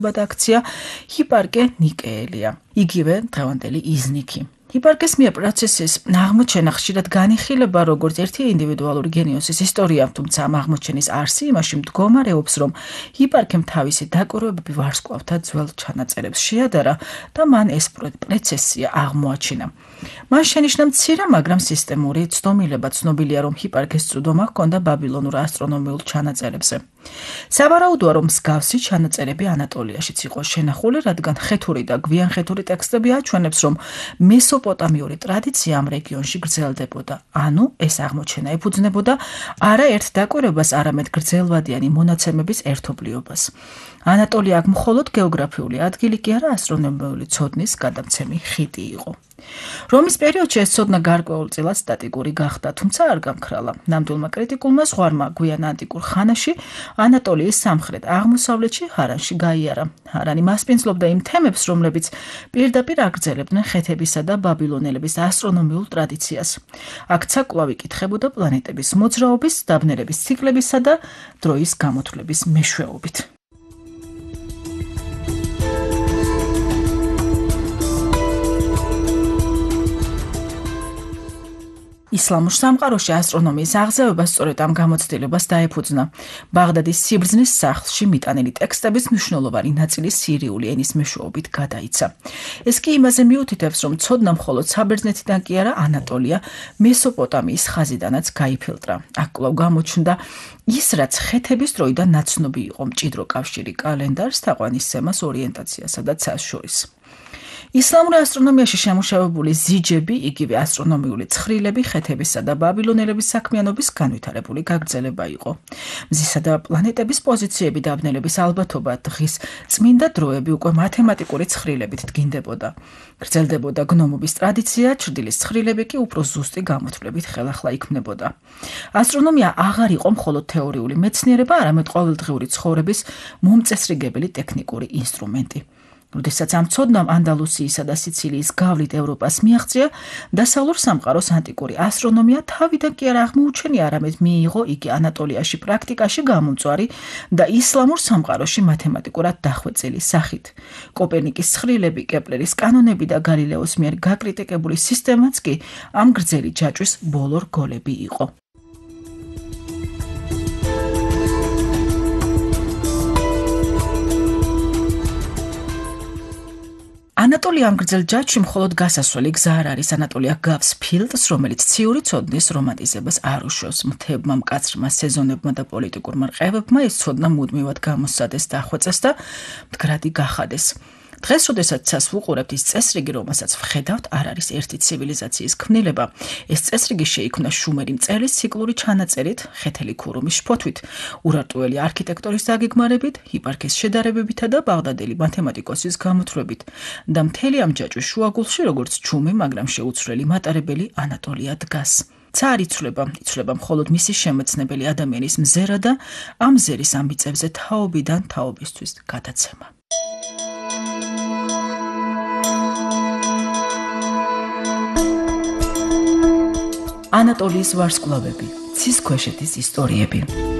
აქცია ჰიპარკე ნიკეელია, იგივე დღევანდელი იზნიქი. ჰიპარკეს მიერ პროცესის აღმოჩენა ხშირად განიხილება როგორც ერთი ინდივიდუალური გენიოსის ისტორია, თუმცა ამ აღმოჩენის არსი იმაში მდგომარეობს, რომ ჰიპარკემ თავისი დაკვირვებები ვარსკვლავთა ძველ ჩანაწერებს შეადარა და მან ეს პროცესი აღმოაჩინა. მან შენიშნა მცირე, მაგრამ სისტემური ცნობილება. ცნობილია, რომ ჰიპარკეს წვდომა ჰქონდა ბაბილონურ ასტრონომიულ ჩანაწერებზე. სავარაუდოა, რომ მსგავსი ჩანაწერები ანატოლიაში იყო შენახული, რადგან ხეთური და გვიანხეთური ტექსტები აჩვენებს, რომ მესოპოტამიური ტრადიცია ამ რეგიონში გრძელდებოდა. ანუ ეს აღმოჩენა ეფუძნებოდა არა ერთ დაკვირვებას, არამედ გრძელვადიანი მონაცემების ერთობლიობას. ანატოლია აქ მხოლოდ გეოგრაფიული ადგილი კი არა, ასტრონომიული ცოდნის გადამცემი ხიდი იყო. რომის პერიოდში ეს ცოდნა გარკვეულწილად სტატიკური გახდა, თუმცა არ გამქრალა. ნამდვილმა კრიტიკულმა ზღვარმა გვიან ანტიკურ ხანაში ანატოლიის სამხრეთ აღმოსავლეთში ჰარანში გაიარა. ჰარანი მასპინძლობდა იმ თემებს, რომლებიც პირდაპირ აგრძელებდნენ ხეთებისა და ბაბილონელების ასტრონომიულ ტრადიციას. აქ ცაკვლავი კითხებოდა პლანეტების მოძრაობის, დაბნელების ციკლებისა და დროის გამოთვლების მეშვეობით. ისლამურ სამყაროში ასტრონომიის აღზევება სწორედ ამ გამოცდილებას დაეფუძნა. ბაღდადის სიბრძნის სახლში მიტანილი ტექსტების მნიშვნელოვანი ნაწილი სირიული ენის მეშვეობით გადაიცა. ეს კი იმაზე მიუთითებს, რომ ცოდნა მხოლოდ საბერძნეთიდან კი არა, ანატოლია, მესოპოტამიის ხაზიდანაც გაიფილტრა. აქ კვლავ გამოჩნდა ის, რაც ხეთების დროიდან ნაცნობი იყო: მჭიდრო კავშირი კალენდარს, თაყვანისცემას, ორიენტაციასა და ცას შორის. ისლამურ ასტრონომიაში შემუშავებული ზიჯები, იგივე ასტრონომიული ცხრილები ხეთებისა და ბაბილონელების საქმიანობის განვითარებული გაგრძელება იყო. მზისა და პლანეტების პოზიციები, დაბნელების ალბათობა, დღის წმინდა დროები უკვე მათემატიკური ცხრილებით დგინდებოდა. გრძელდებოდა გნომობის ტრადიცია, ჩრდილის ცხრილები კი უფრო ზუსტი გამოთვლებით ხელახლა იქმნებოდა. ასტრონომია აღარ იყო მხოლოდ თეორიული მეცნიერება, არამედ ყოველდღიური ცხოვრების მომწესრიგებელი ტექნიკური ინსტრუმენტი. როდესაც ამ ცოდნამ ანდალუსიისა და სიცილიის გავლით ევროპას მიაღწია, დასავლურ სამყაროს ანტიკური ასტრონომია თავიდან კი არ აღმოუჩენია, არამედ მიიღო იგი ანატოლიაში პრაქტიკაში გამომწვარი და ისლამურ სამყაროში მათემატიკურად დახვეწილი სახით. კოპერნიკის ცხრილები, კეპლერის კანონები და გალილეოს მიერ გაკრიტიკებული სისტემაც კი ამ გრძელი ჯაჭვის ბოლო რგოლები იყო. ანატოლია ამ გრძელ ჯაჭვში მხოლოდ გასასვლელი გზა არ არის. ანატოლია გავს ფილტს, რომელიც ციური ცოდნის რომანტიზებას არ უშევს. მთებმა, მკაცრმა სეზონებმა და პოლიტიკურმა რყევებმა ეს ცოდნა მუდმივად გამოსცადეს, დახვეწეს და მდგრადი გახადეს. დღეს, როდესაც ცას ვუყურებთ, ის წესრიგი, რომელსაც ვხედავთ, არ არის ერთი ცივილიზაციის ქმნილება. ეს წესრიგი შეიქმნა შუმერი მწერლის ციკლური ჩანაწერით, ხეთელი ქურუმის შფოთვით, ურარტუელი არქიტექტორის დაგეგმარებით, ჰიპარქეს შედარებებითა და ბაღდადელი მათემატიკოსის გამოთვლებით. და მთელი ამ ჯაჭვის შუაგულში, როგორც ჩუმი, მაგრამ შეუცვლელი მატარებელი, ანატოლია დგას. ცა არ იცვლება მხოლოდ მისი შემეცნებელი ადამიანის მზერა და ამ მზერის ამ მიწებზე თაობიდან თაობისთვის გადაცემა. ანატოლიის ვარსკვლავები, ცის ქვეშეთის ისტორიები.